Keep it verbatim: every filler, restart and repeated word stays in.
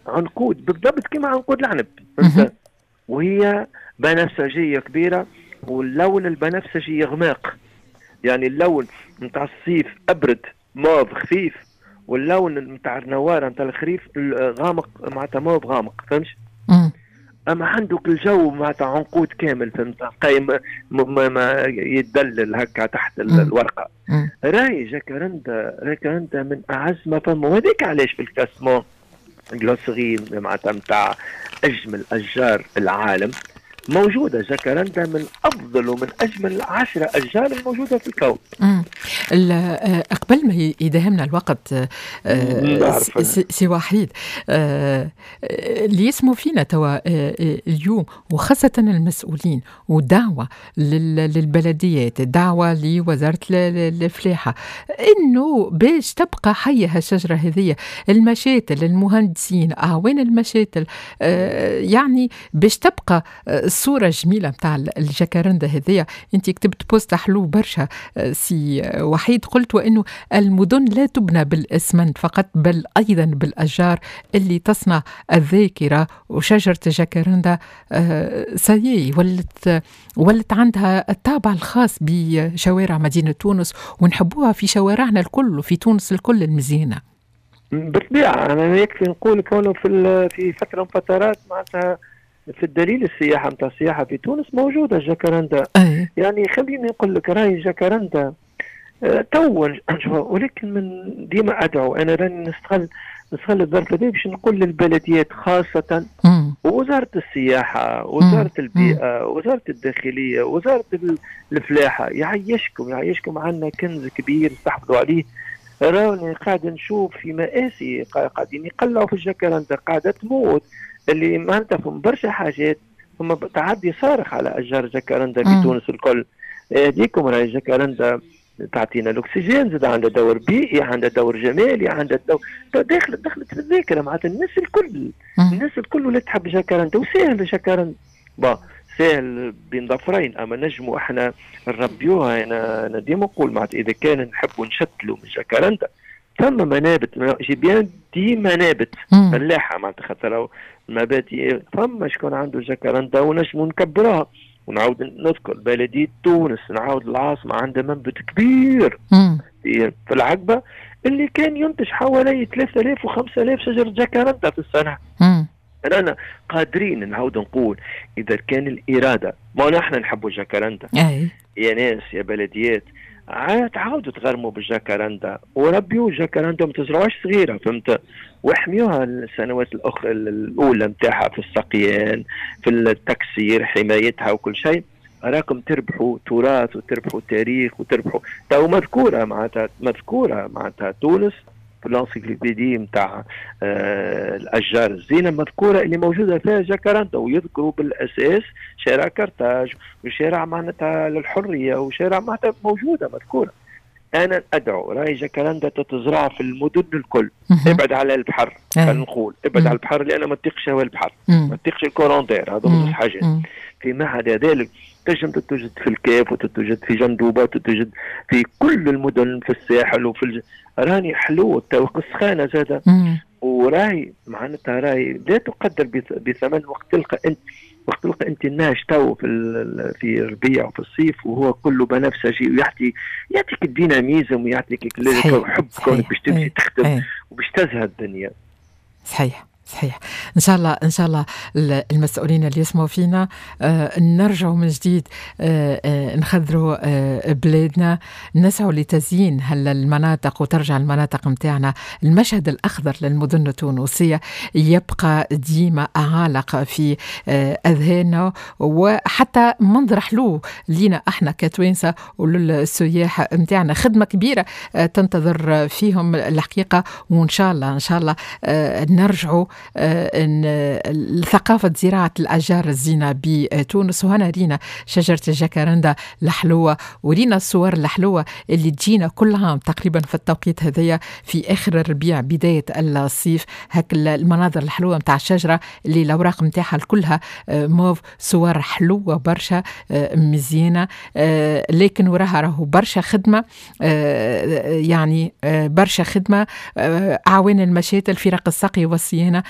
عنقود بالضبط كما عنقود العنب، فهمت؟ وهي بنفسجيه كبيرة واللون البنفسجي يغماق، يعني اللون نتاع الصيف ابرد موف خفيف، واللون نتاع النواره نتاع الخريف غامق، معناتها موف غامق، فهمت؟ اما عندك الجو معناتها عنقود كامل، فهمت؟ قايم ما ما يتدلل هكا تحت الورقه. راي جاكارندا، جاكارندا من اعز ما فما، وهذاك علاش في ال classement Glossary معناتها نتاع اجمل اشجار العالم موجودة جاكارندا من أفضل ومن أجمل عشرة أشجار الموجودة في الكون. آه، قبل ما يداهمنا الوقت آه، سي وحيد، آه، اللي يسموا فينا توا اليوم وخاصة المسؤولين، ودعوة للبلديات، دعوة لوزارة الفلاحة، إنه باش تبقى حية هالشجرة هذه، المشاتل، المهندسين، أعوان المشاتل، يعني باش تبقى الصورة الجميلة نتاع الجاكارندا هذيا. انت كتبت post حلو برشا آه، سي وحيد، قلت وانه المدن لا تبنى بالاسمنت فقط بل ايضا بالاشجار اللي تصنع الذاكره، وشجره الجاكارندا آه، ça y est ولت ولت عندها الطابع الخاص بشوارع مدينة تونس، ونحبوها في شوارعنا الكل وفي تونس الكل المزيانه. بالطبيعه، انا يكفي نقول كونه في في فترة من فترات معناتها في الدليل السياحة نتاع السياحة في تونس موجودة جاكارندا. أي. يعني خليني نقول لك راهي جاكارندا آه، تو، ولكن من ديما ادعو، انا راني نستغل نستغل الظرف هذا باش نقول للبلديات خاصة ووزارة السياحة، وزارة البيئة، وزارة الداخلية، وزارة الفلاحة، يعيشكم يعيشكم، عندنا كنز كبير استحفظوا عليه. راني قاعد نشوف في مآسي، قاعدين يقلعوا في الجاكرندا، قاعدة تموت، اللي معناتها فما برشا حاجات، ثم تعدي صارخ على اشجار جاكرندا في تونس الكل. هذيكم راهي جاكرندا تعطينا الاكسجين، زاد عندها دور بيئي، عندها دور جمالي، عندها دور دخلت دخلت في الذاكرة معناتها الناس الكل. الناس الكل ولات تحب جاكرندا، وساهل جاكرندا، bon ساهل بين ظفرين، اما نجموا احنا نربيوها. انا انا ديما نقول معناتها اذا كان نحبوا نشتلوا من جاكرندا ثم منابت، j'ai bien dit منابت فلاحة معناتها، خاطر المبادئ فما شكون عنده جاكرندا ونجموا نكبروها. ونعاود نذكر بلدية تونس، نعاود العاصمة، عندها منبت كبير في العقبة اللي كان ينتج حوالي ثلاثة آلاف و خمسة آلاف شجرة جاكرندا في السنة. رانا قادرين، نعاود نقول إذا كان الإرادة، ما نحن نحبوا جاكرندا. يا ناس، يا بلديات، تعاودوا تغرموا بالجاكرندا وربيوا جاكرندا، ما تزرعوش صغيره، فهمت؟ واحميوها السنوات الاخرى الاولى نتاعها في السقيان، في التكسير، حمايتها وكل شيء. راكم تربحوا تراث وتربحوا تاريخ وتربحوا تو مذكوره، معناتها مذكورة معناتها تونس في l'encyclopédie نتاع آه الاشجار الزينه، مذكورة اللي موجودة فيها جاكاراندا، ويذكروا بالاساس شارع كرتاج وشارع معناتها للحرية وشارع معناتها موجودة مذكوره. انا ادعو، راهي جاكاراندا تتزرع في المدن الكل، ابعد على البحر، خلينا نقول ابعد على البحر، لان ما تطيقش هواء البحر، ما تطيقش ال courant d'air، هذا زوز حاجات. فيما عدا ذلك تنجم تتوجد في الكاف وتتوجد في جندوبه وتتوجد في كل المدن، في الساحل وفي الج... راني حلو تو السخانه زاده، وراي معناتها راي لا تقدر بثمن وقت تلقى انت وقت تلقى انت الناس تو في في الربيع وفي الصيف وهو كله بنفسجي ويعطي يعطيك ال dynamisme ويعطيك حب كونك باش تمشي تخدم وباش تزهى الدنيا. صحيح صحيح ان شاء الله، ان شاء الله المسؤولين اللي يسمعوا فينا آه، نرجعوا من جديد آه، آه، نخضروا بلادنا، نسعوا لتزيين المناطق وترجع المناطق متاعنا، المشهد الاخضر للمدن التونسية يبقى ديما عالق في اذهاننا، وحتى منظر حلو لينا احنا كتوانسه وللسياح متاعنا. خدمة كبيرة تنتظر فيهم الحقيقه، وان شاء الله ان شاء الله نرجعوا ثقافة زراعة الأشجار الزينة بتونس. وهنا رينا شجرة الجاكارندا الحلوة ورينا الصور الحلوة اللي تجينا كل عام تقريبا في التوقيت هذايا، في آخر الربيع بداية الصيف، هاك المناظر الحلوة متاع الشجرة اللي الأوراق متاعها كلها موف، صور حلوة برشا آه، مزيانة، آه، لكن وراها راهو برشا خدمة، آه، يعني برشا خدمة، أعوان المشاتل، فرق السقي والصيانة.